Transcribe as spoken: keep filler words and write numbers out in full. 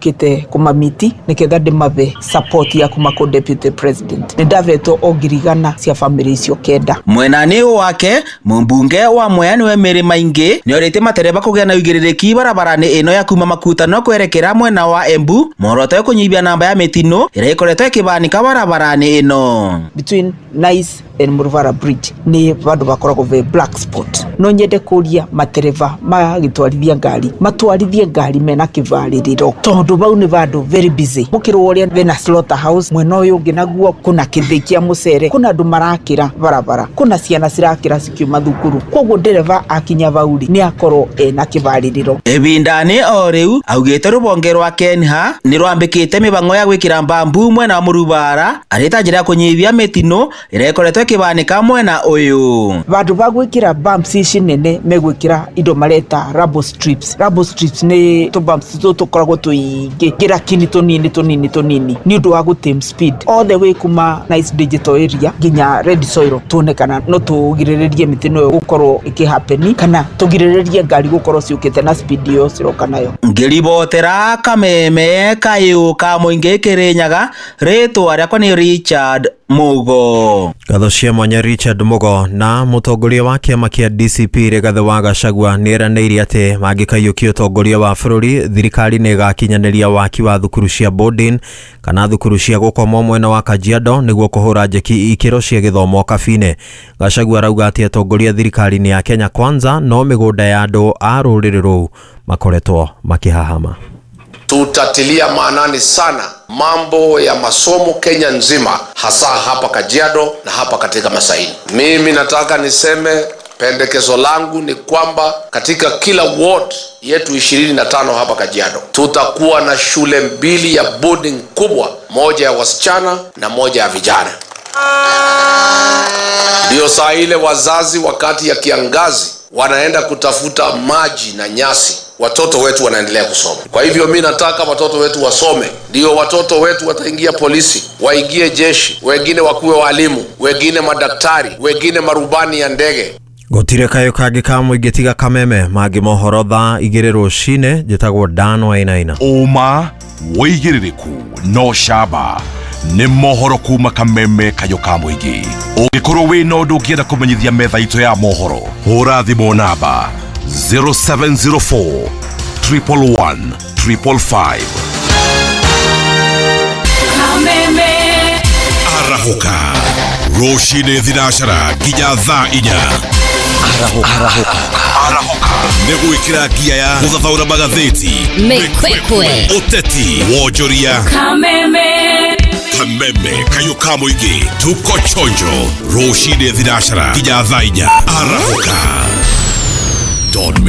Kite kumamiti niketha ndimabe support ya kuma ko deputy president ni ndavetwo ongirigana cia family icio kenda. Mwenani wake mumbunge wa Mwea niwe Mary Maingi ni orite matereba kugia na uigiririki barabara-ini ino ya kuma makutano kwerekera mwena wa Embu muoroto kunyibia namba ya mitino iria ikoretwo ikibanika barabara-ini ino. Between Nice and Muruvara Bridge ni vandu bakoragwo ve black spot. No nyende kuria matereba magitwarithia ngari matwarithie ngari mena kivaririro tondu bau ni vandu very busy. Mukirwo uria vena slaughterhouse mwena uyu ungi naguo kuna kithi kia mucere, kuna andu marakira barabara, kuna ciana cirakira cikiuma thukuru, koguo ndereba akinya bauri ni akorwo ena kivaririro. Ibindani o riu augite rubonge rwa Kenha ni rwambikite mibango ya gwikira mbambu mwena wa Murubara arita njira ya kunyibia mitino iria ikoretwo ikibanika mwena uyu. Vandu ba gwikira bumps ici nene megwikira indo mareta rubble strips. Rubble strips ni tu bumps tu tukoragwo tuingi ngira kini tunini tunini tunini ni undu wa gutame speed all the way kuma Nice Digital area nginya Red Soil tuonekana no tugiriririe mitino ĩyo gukorwo ikihappen kana tugiriririe ngari gukorwo ciukite na speed iyo ciroka nayo. Ngiribotera kameme kayu ka muingi Kirinyaga, ritwa riakwa ni Richard Mugo. Ngatho cia mwanya Richard Mugo. Na mutongoria wa kiama kia D C P Rigathi wa Gachagua nĩeranĩire atĩ mangĩkaiyũkia ũtongoria wa bũrũri thirikari nĩ ĩgakinyanĩria waki wa thukuru cia boarding kana thukuru cia gũkomwo mwena wa Kajiado nĩguo kũhũra njeki ikĩro cia gĩthomo Kabine. Gachagua arauga atĩ atongoria thirikari-inĩ ya Kenya Kwanza no mĩgũnda ya andũ a rũrĩrĩ rũu makoretwo makĩhahama. Tutatilia maanani sana mambo ya masomo Kenya nzima, hasa hapa Kajiado na hapa katika Masaini. Mimi nataka niseme pendekezo langu ni kwamba katika kila ward yetu ishirini na tano hapa Kajiado tutakuwa na shule mbili ya boarding kubwa, moja ya wasichana na moja ya vijana. Ndio saa ile wazazi wakati ya kiangazi wanaenda kutafuta maji na nyasi, watoto wetu wanaendelea kusoma. Kwa hivyo mimi nataka watoto wetu wasome, ndio watoto wetu wataingia polisi, waingie jeshi, wengine wakuwe walimu, wengine madaktari, wengine marubani ya ndege. Gutire kayo kangi ka muingi tiga kameme mangi mohoro thaa igĩrĩ rũcinĩ. Njĩtagwo Dan Wainaina. Ũma wĩigĩrĩrĩku no camba nĩ mohoro kuma kameme kayo ka mũingĩ. Ũngĩkorwo wĩna ũndũ ũngĩenda kũmenyithia metha itũ ya mohoro, hũra thimũ namba zero seven zero four triple one triple five. Kameme Arahoka rũcinĩ thinacara nginya thaa inya. Arahoka. Arahoka. Arahoka. Nĩ gwĩkĩra ngia ya gũthathaũra magathĩti, mĩkwekwe, ũteti, wonjoria. Kameme Kameme kayo ka mũingĩ, tuko chonjo rũcinĩ thinacara nginya thaa inya. Arahoka. Don't miss.